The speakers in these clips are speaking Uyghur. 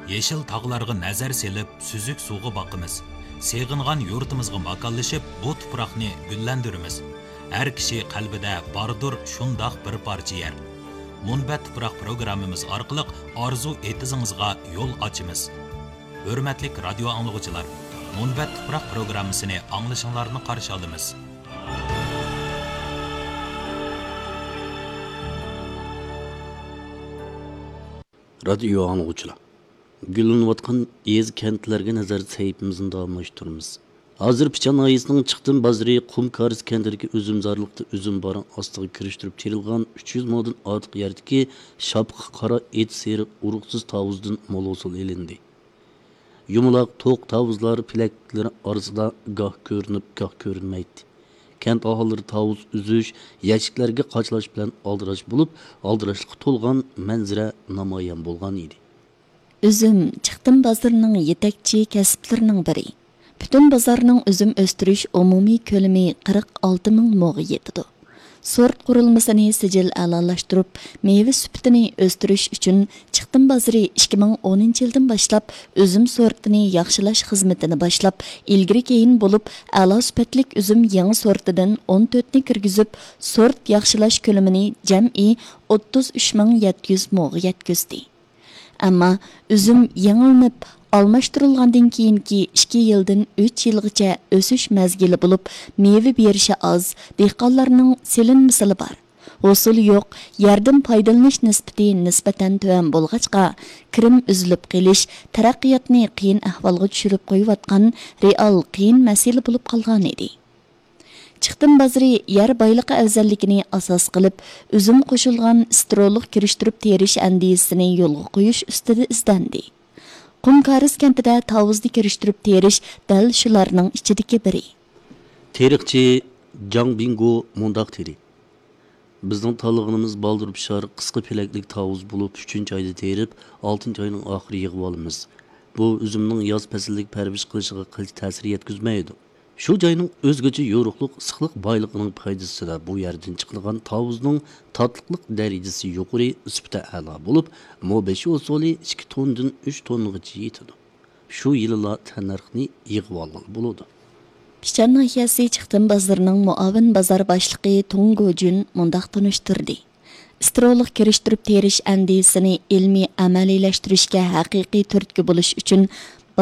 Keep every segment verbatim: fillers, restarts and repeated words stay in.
يېشىل تاغلارغا نەزەر سېلىپ، سۈزۈك سۇغا باقىمىز. سېغىنغان يۇرتىمىزغا ماكانلىشىپ، بۇ تۇپراقنى گۈللەندۈرىمىز. ھەر كىشى قەلبىدە باردۇر شۇنداق بىر پارچە يەر. مۇنبەت تۇپراق پروگراممىمىز ئارقىلىق ئارزۇ ئېتىزىڭىزغا يول ئاچىمىز. ھۆرمەتلىك رادىيو ئاڭلىغۇچىلار، مۇنبەت تۇپراق پروگراممىسىنى ئاڭلىشىڭلارنى قارشى ئالىمىز. رادىيو ئاڭلىغۇچىلار، گۈللىنىۋاتقان يېزا، كەنتلەرگە نەزەر سەھىپىمىزنى داۋاملاشتۇرىمىز. ھازىر پىچان ناھىيەسىنىڭ چىقتىم بازىرى قۇم كارىز كەنتىدىكى ئۈزۈمزارلىقتا ئۈزۈم بارىڭ ئاستىغا كىرىشتۈرۈپ تېرىلغان ئۈچ يۈز مودىن ئارتۇق يەردىكى شاپىقى قارا ئېت سېرىق ئۇرۇقسىز تاۋۇزدىن مول ھوسۇل ئېلىندى. يۇمىلاق توق تاۋۇزلار پېلەكلىرى ئارىسىدا گاھ كۆرۈنۈپ، گاھ كۆرۈنمەيتتى. كەنت ئاھالىلىرى تاۋۇز ئۈزۈش، يەشىكلەرگە قاچىلاش بىلەن ئالدىراش بولۇپ، ئالدىراشلىققا تولغان مەنزىرە نامايان بولغان ئىدى. ئۈزۈم چىقتىم بازىرىنىڭ يېتەكچى كەسىپلىرىنىڭ بىرى. پۈتۈن بازارنىڭ ئۈزۈم ئۆستۈرۈش ئومۇمىي كۆلىمى قىرىق ئالتە مىڭ موغا يېتىدۇ. سورت قۇرۇلمىسىنى سىجىل ئەلالاشتۇرۇپ، مېۋە سۈپىتىنى ئۆستۈرۈش ئۈچۈن چىقتىم بازىرى ئىككى مىڭ ئونىنچى يىلدىن باشلاپ ئۈزۈم سورتىنى ياخشىلاش خىزمىتىنى باشلاپ، ئىلگىرى كېيىن بولۇپ ئەلا سۈپەتلىك ئۈزۈم يېڭى سورتىدىن ئون تۆتنى كىرگۈزۈپ، سورت ياخشىلاش كۆلىمىنى جەمئىي ئوتتۇز ئۈچ مىڭ يەتتە يۈز موغا يەتكۈزدى. ئەمما ئۈزۈم يېڭىلىنىپ ئالماشتۇرۇلغاندىن كېيىنكى ئىككى يىلدىن ئۈچ يىلغىچە ئۆسۈش مەزگىلى بولۇپ، مېۋە بېرىشى ئاز، دېھقانلارنىڭ سېلىنمىسىلا بار. ھوسۇلى يوق، يەردىن پايدىلىنىش نىسبىتى نىسبەتەن تۆۋەن بولغاچقا، كىرىم ئۈزۈلۈپ قېلىش تەرەققىياتنى قىيىن ئەھۋالغا چۈشۈرۈپ قويۇۋاتقان رېئال قىيىن مەسىلە بولۇپ قالغانىدى. چىقتىم بازىرى يەر بايلىقى ئەۋزەللىكىنى ئاساس قىلىپ، ئۈزۈم قوشۇلغان سترولۇق كىرىشتۈرۈپ تېرىش ئەندىزىسىنى يولغا قويۇش ئۈستىدە ئىزدەندى. قۇم كارىز كەنتىدە تاۋۇزنى كىرىشتۈرۈپ تېرىش دەل شۇلارنىڭ ئىچىدىكى بىرى. تېرىقچى جاڭ بىڭگو مۇنداق دېدى: بىزنىڭ تاللىغىنىمىز بالدۇر پىشار، قىسقا پېلەكلىك تاۋۇز بولۇپ، ئۈچىنچى ئايدا تېرىپ، ئالتىنچى ئاينىڭ ئاخىرى يىغىۋالىمىز. بۇ ئۈزۈمنىڭ ياز پەسلىدىكى پەرۋىش قىلىشىغا قىلچە تەسىر يەتكۈزمەيدۇ. شۇ جاينىڭ ئۆزگىچە يورۇقلۇق، ئىسسىقلىق بايلىقىنىڭ پايدىسىدا بۇ يەردىن چىقىدىغان تاۋۇزنىڭ تاتلىقلىق دەرىجىسى يۇقىرى، سۈپىتى ئەلا بولۇپ، مو بېشى ھوسۇلى ئىككى توننىدىن ئۈچ توننىغىچە يېتىدۇ. شۇ يىلىلا تەننەرخنى يىغىۋالغىلى بولىدۇ. پىچان ناھىيەسى چىقتىم بازىرىنىڭ مۇئاۋىن بازار باشلىقى تۇڭ گوجۈن مۇنداق تونۇشتۇردى: ئىسترولۇق كىرىشتۈرۈپ تېرىش ئەندىزىسىنى ئىلمىي ئەمەلىيلەشتۈرۈشكە ھەقىقىي تۈرتكە بولۇش ئۈچۈن،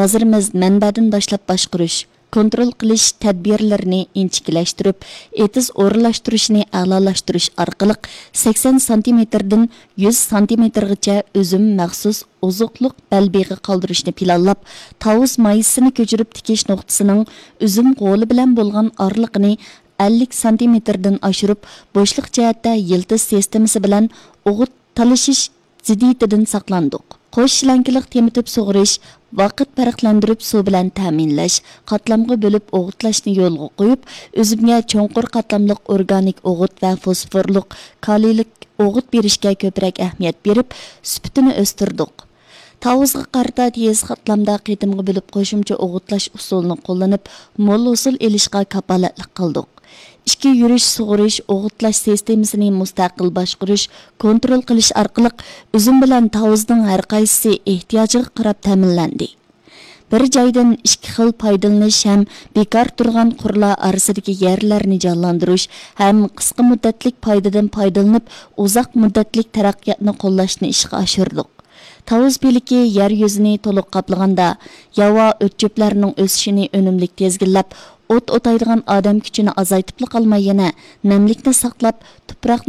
بازىرىمىز مەنبەدىن باشلاپ باشقۇرۇش، كونترول قىلىش تەدبىرلىرىنى ئىنچىكىلەشتۈرۈپ، ئېتىز ئورۇنلاشتۇرۇشنى ئەلالاشتۇرۇش ئارقىلىق، سەكسەن سانتىمېتىردىن يۈز سانتىمېتىرغىچە ئۈزۈم مەخسۇس ئوزۇقلۇق بەلبېغى قالدۇرۇشنى پىلانلاپ، تاۋۇز مايسىسىنى كۆچۈرۈپ تىكىش نۇقتىسىنىڭ ئۈزۈم غولى بىلەن بولغان ئارىلىقىنى ئەللىك سانتىمېتىردىن ئاشۇرۇپ، بوشلۇق جەھەتتە يىلتىز سىستېمىسى بىلەن ئوغۇت تالىشىش زىددىيىتىدىن ساقلاندۇق. قوش شىلەنكىلىق تېمىتىپ سۇغىرىش، ۋاقىت پەرقلەندۈرۈپ سۇ بىلەن تەمىنلەش، قاتلامغا بۆلۈپ ئوغۇتلاشنى يولغا قويۇپ، ئۈزۈمگە چوڭقۇر قاتلاملىق ئورگانىك ئوغۇت ۋە فوسفورلۇق، كالىيلىك ئوغۇت بېرىشكە كۆپرەك ئەھمىيەت بېرىپ، سۈپىتىنى ئۆستۈردۇق. تاۋۇزغا قارىتا تېز قاتلامدا قېتىمغا بۆلۈپ قوشۇمچە ئوغۇتلاش ئۇسۇلىنى قوللىنىپ، مول ھوسۇل ئېلىشقا كاپالەتلىك قىلدۇق. ئىچكى يۈرۈش سۇغىرىش، ئوغۇتلاش سىستېمىسىنى مۇستەقىل باشقۇرۇش، كونترول قىلىش ئارقىلىق ئۈزۈم بىلەن تاۋۇزنىڭ ھەرقايسىسى ئېھتىياجىغا قاراپ تەمىنلەندى. بىر جايدىن ئىككى خىل پايدىلىنىش ھەم بىكار تۇرغان قۇرلار ئارىسىدىكى يەرلەرنى جانلاندۇرۇش ھەم قىسقا مۇددەتلىك پايدىدىن پايدىلىنىپ، ئۇزاق مۇددەتلىك تەرەققىياتنى قوللاشنى ئىشقا ئاشۇردۇق. تاۋۇز پىلىكى يەر يۈزىنى تولۇق قاپلىغاندا، ياۋا ئۆت-چۆپلەرنىڭ ئۆسۈشىنى ئۈنۈملۈك تىزگىنلەپ، ئوت ئوتايدىغان ئادەم كۈچىنى ئازايتىپلا قالماي، يەنە نەملىكنى ساقلاپ، تۇپراقنى